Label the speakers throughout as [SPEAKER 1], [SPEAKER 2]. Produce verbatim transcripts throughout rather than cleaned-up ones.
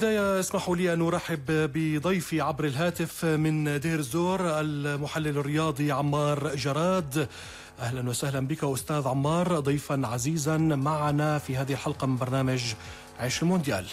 [SPEAKER 1] بداية اسمحوا لي أن أرحب بضيفي عبر الهاتف من دير الزور المحلل الرياضي عمار جراد. أهلا وسهلا بك أستاذ عمار، ضيفا عزيزا معنا في هذه الحلقة من برنامج عيش المونديال.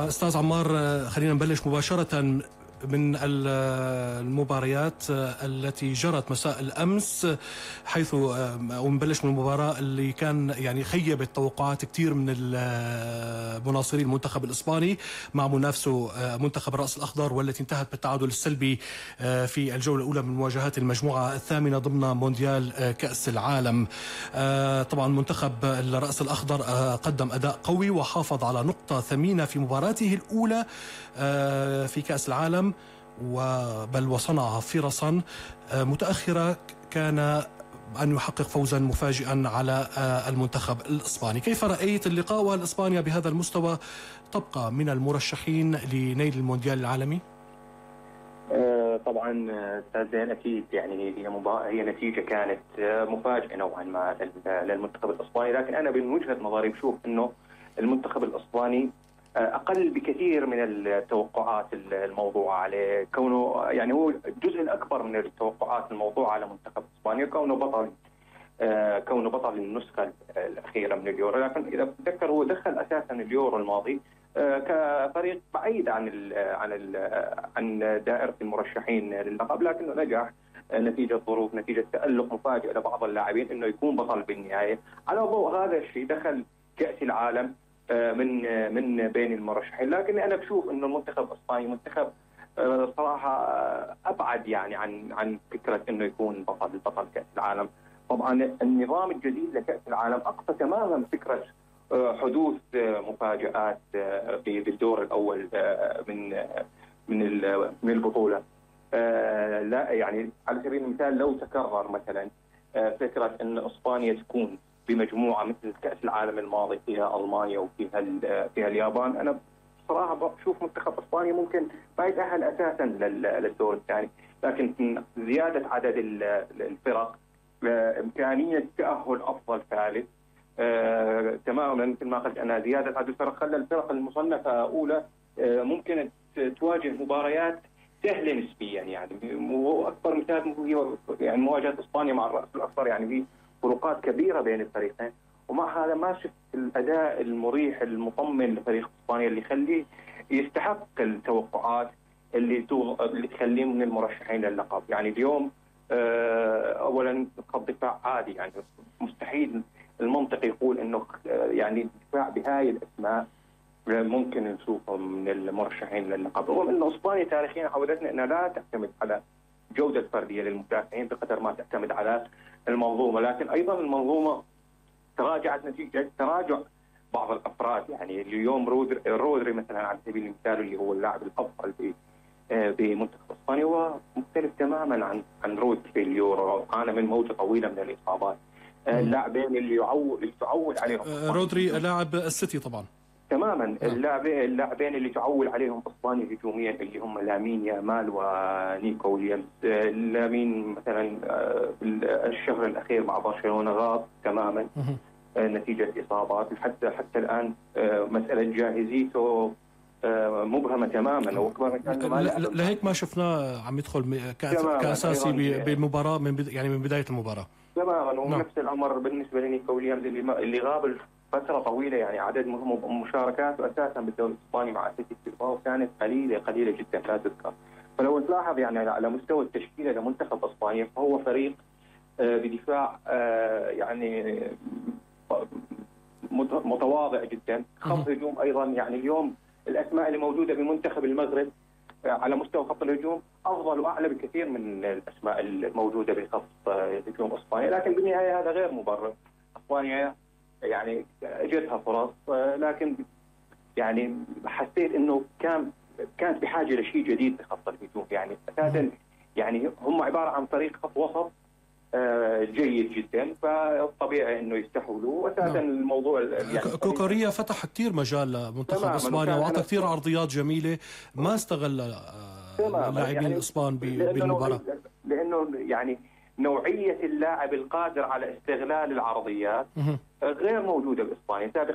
[SPEAKER 1] أستاذ عمار، خلينا نبلش مباشرة من المباريات التي جرت مساء الأمس، حيث ونبلش من المباراة اللي كان يعني خيبت توقعات كثير من المناصري المنتخب الإسباني مع منافسه منتخب الرأس الأخضر، والتي انتهت بالتعادل السلبي في الجولة الأولى من مواجهات المجموعة الثامنة ضمن مونديال كأس العالم. طبعا منتخب الرأس الأخضر قدم أداء قوي وحافظ على نقطة ثمينة في مباراته الأولى في كأس العالم، بل وصنع فرصا متأخرة كان أن يحقق فوزا مفاجئا على المنتخب الإسباني. كيف رأيت اللقاء والإسبانيا بهذا المستوى تبقى من المرشحين لنيل المونديال العالمي؟
[SPEAKER 2] طبعا استاذ زين، اكيد يعني هي هي نتيجه كانت مفاجئه نوعا ما للمنتخب الاسباني، لكن انا من وجهه نظري بشوف انه المنتخب الاسباني اقل بكثير من التوقعات الموضوعه عليه، كونه يعني هو الجزء الاكبر من التوقعات الموضوعه على منتخب اسبانيا كونه بطل آه كونه بطل النسخه الاخيره من اليورو. لكن اذا بتذكر هو دخل اساسا اليورو الماضي آه كفريق بعيد عن ال عن ال عن دائره المرشحين للقب، لكنه نجح نتيجه ظروف، نتيجه تالق مفاجئ لبعض اللاعبين انه يكون بطل بالنهايه. على ضوء هذا الشيء دخل كاس العالم من من بين المرشحين، لكن انا بشوف انه المنتخب الاسباني منتخب صراحه ابعد يعني عن عن فكره انه يكون بطل بطل كاس العالم. طبعا النظام الجديد لكاس العالم اقصى تماما فكره حدوث مفاجات في الدور الاول من من من البطوله. لا يعني على سبيل المثال لو تكرر مثلا فكره ان اسبانيا تكون بمجموعه مثل كاس العالم الماضي فيها المانيا وفيها فيها اليابان، انا بصراحه بشوف منتخب اسبانيا ممكن ما يتاهل اساسا للدور الثاني، لكن زياده عدد الفرق، امكانيه تاهل افضل ثالث آه، تماما مثل ما قلت انا، زياده عدد الفرق خلى الفرق المصنفه اولى آه، ممكن تواجه مباريات سهله نسبيا، يعني واكبر مثال هي يعني مواجهه اسبانيا مع الراس الاخضر، يعني في فروقات كبيره بين الفريقين، ومع هذا ما شفت الاداء المريح المطمن لفريق اسبانيا اللي يخليه يستحق التوقعات اللي اللي تخليه من المرشحين للقب. يعني اليوم اولا خط دفاع عادي، يعني مستحيل المنطق يقول انه يعني دفاع بهاي الاسماء ممكن نشوفه من المرشحين للقب، رغم انه اسبانيا تاريخيا عودتنا انها لا تعتمد على جوده فرديه للمدافعين بقدر ما تعتمد على المنظومه، لكن ايضا المنظومه تراجعت نتيجه تراجع بعض الافراد. يعني اليوم رودري, رودري مثلا على سبيل المثال اللي هو اللاعب الافضل في بمنتخب اسبانيا هو مختلف تماما عن عن رودري في اليورو، عانى من موجه طويله من الاصابات. اللاعبين اللي يعول اللي تعول عليهم
[SPEAKER 1] رودري لاعب السيتي طبعا
[SPEAKER 2] تماما، اللاعبين اللاعبين اللي تعول عليهم اسبانيا هجوميا اللي هم لامين يامال ونيكو ويليامز. لامين مثلا الشهر الاخير مع برشلونه غاب تماما نتيجه اصابات، حتى حتى الان مساله جاهزيته مبهمه تماما، واكبر
[SPEAKER 1] لهيك ما شفناه عم يدخل كاساسي بالمباراه من يعني من بدايه المباراه
[SPEAKER 2] تماما. ونفس الامر بالنسبه لنيكو ويليامز اللي اللي غاب فترة طويلة، يعني عدد مشاركاته أساسا بالدوري الإسباني مع أتلتيك بلباو كانت قليلة قليلة جدا لا تذكر. فلو تلاحظ يعني على مستوى التشكيلة لمنتخب إسبانيا فهو فريق بدفاع يعني متواضع جدا، خط هجوم أيضا. يعني اليوم الأسماء اللي موجودة بمنتخب المغرب على مستوى خط الهجوم أفضل وأعلى بكثير من الأسماء الموجودة بخط هجوم إسبانيا، لكن بالنهاية هذا غير مبرر. إسبانيا يعني اجتها فرص، لكن يعني حسيت انه كان كانت بحاجه لشيء جديد بخط الهجوم. يعني اساسا يعني هم عباره عن فريق خط وسط جيد جدا، فالطبيعي انه يستحولوا. واساسا الموضوع
[SPEAKER 1] يعني كوكوريا فتح كثير مجال لمنتخب اسبانيا واعطى كثير عرضيات جميله ما استغل اللاعبين يعني الاسبان بالمباراه،
[SPEAKER 2] لانه يعني نوعيه اللاعب القادر على استغلال العرضيات غير موجوده باسبانيا. سابقا